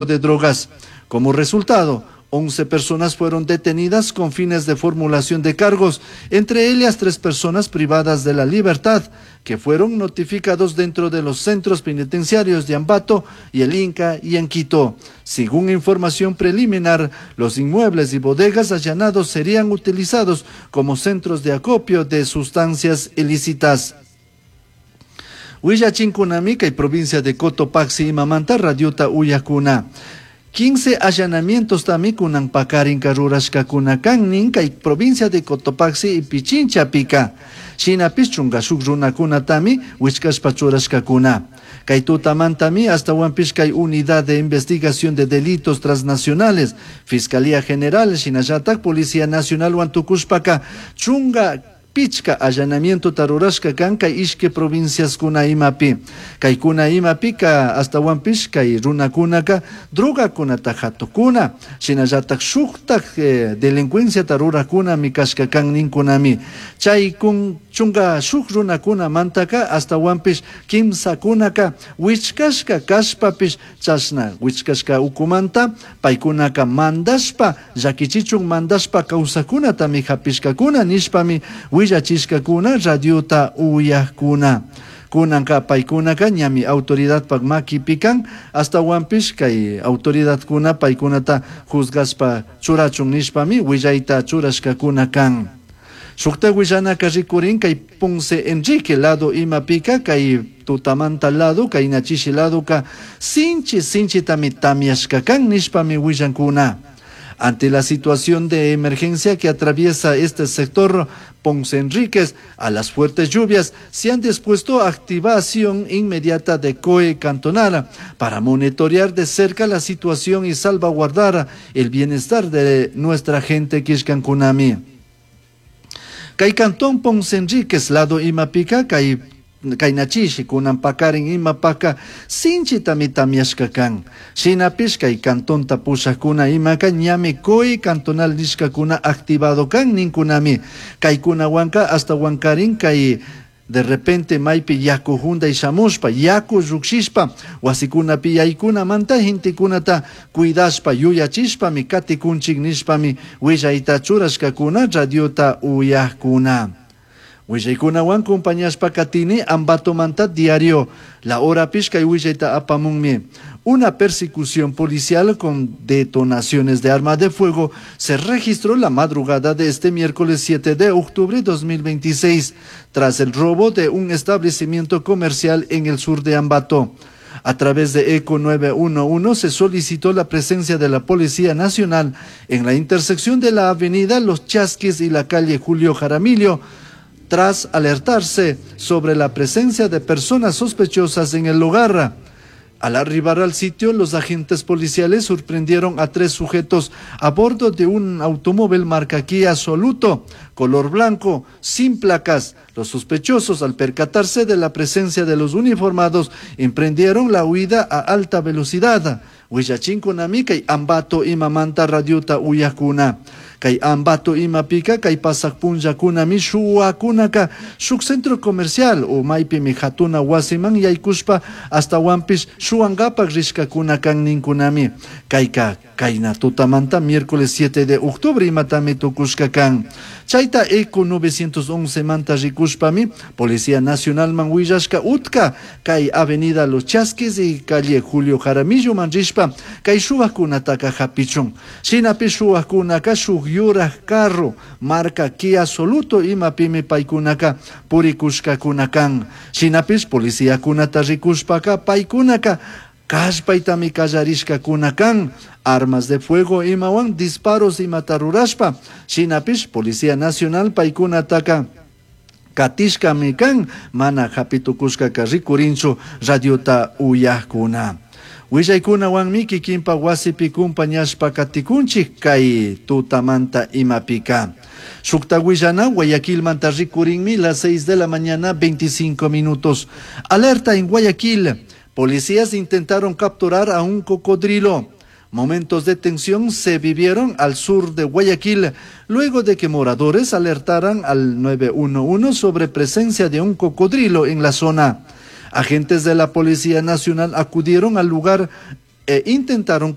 De drogas. Como resultado, 11 personas fueron detenidas con fines de formulación de cargos, entre ellas tres personas privadas de la libertad, que fueron notificados dentro de los centros penitenciarios de Ambato y El Inca y en Quito. Según información preliminar, los inmuebles y bodegas allanados serían utilizados como centros de acopio de sustancias ilícitas. Willachinkunami kay provincia de Cotopaxi imamanta radiota uyakuna. 15 allanamientos tami kunan pakarinka rurashkakuna kan nin kay provincia de Cotopaxi y Pichinchapika. Shinapish chunka shuk runakunatami wichkashpa churashkakuna. Kay tutamantami ashtawanpish kay Unidad de Investigación de Delitos Transnacionales, Fiscalía General, shinallatak Policía Nacionalwan tukushpaka 15 allanamientota rurashka kan kay ishki provinciaskuna imapi. Kaykuna imapika ashtawanpish kay runakunaka drogakunata hatukuna, shinallatak shuktak delincuenciata rurakunami kashka kan ninkunami. Chay kun 16 runakunamantaka ashtawanpish kimsakunaka wichkashka kashpapish chashna wichkashka ukumanta paykunaka mandashpa llakichichun mandashpa kawsakunatami hapishkakuna nishpami willachishkakuna radiota uyakuna. Kunanka paykunaka ñami autoridadpak makipi kan ashtawanpish kay autoridadkuna paykunata juzgashpa churachun nishpami willayta churashkakuna kan. Shukta willanaka rikurin kay Ponce Enrique lado imapika kay tutamanta lado kay nachishi ladoka sinchi sinchitami tamyashka kan nishpami willankuna. Ante la situación de emergencia que atraviesa este sector Ponce Enríquez, a las fuertes lluvias se han dispuesto activación inmediata de COE Cantonal para monitorear de cerca la situación y salvaguardar el bienestar de nuestra gente Quishcankunami. Kay cantón Ponce Enríquez lado imapika kay kaynachishi kunan pakarin imapaka sinchitami tamyashka kan. Shinapish kay cantonta pushakuna imaka ñami COE cantonal nishkakuna activado kan ninkunami. Kaykunawanka ashtawankarin kay de repente maypi yaku junday shamushpa, yaku llukshishpa, wasikunapi yaykunamanta gentekunata cuidashpa, yuyachishpami katikunchik nishpami willayta churashkakuna radiota uyakuna. Willaykunawan compañashpa katini Ambatomanta diario La Hora kay willayta apamunmi. Una persecución policial con detonaciones de arma de fuego se registró la madrugada de este miércoles 7 de octubre de 2026, tras el robo de un establecimiento comercial en el sur de Ambato. A través de ECO 911 se solicitó la presencia de la Policía Nacional en la intersección de la avenida Los Chasquis y la calle Julio Jaramillo, tras alertarse sobre la presencia de personas sospechosas en el lugar. Al arribar al sitio, los agentes policiales sorprendieron a tres sujetos a bordo de un automóvil marca Kia Soluto, color blanco, sin placas. Los sospechosos, al percatarse de la presencia de los uniformados, emprendieron la huida a alta velocidad. Willachinkunami kay Ambato imamanta radiota uyakuna. Kay Ambato imapika kay pasak punllakunami shuwakunaka shuk centro comercial o maypimi hatuna wasiman yaykushpa ashtawanpish shuwankapak rishkakuna kan ninkunami. Kayka kayna tutamanta miércoles 7 de octubre imatami tukushka kan. Chayta ECO 911 manta rikushpami Policía Nacional man willashka utka kay avenida Los Chasquis y calle Julio Jaramillo man rishpa kay shuwakunataka hapichun. Shinapish shuwakunaka shuk yuraj carro marca Kia Soluto imapimi paykunaka purikushkakuna kan. Shinapish policiakunata rikushpaka paykunaka kallpaytami kallarishkakuna kan. Armas de fuego imawan disparos imata rurashpa. Shinapish Policía Nacional paykunataka katishkami kan mana hapitukushkaka rikurinchu radiota uyakuna. Willaykunawanmi kikinpa wasipi kumpañashpa katikunchik kay tutamanta imapika. Shukta willana Guayaquilmanta rikurinmi las 6 de la mañana 25 minutos. Alerta en Guayaquil. Policías intentaron capturar a un cocodrilo. Momentos de tensión se vivieron al sur de Guayaquil luego de que moradores alertaran al 911 sobre presencia de un cocodrilo en la zona. Agentes de la Policía Nacional acudieron al lugar. E intentaron.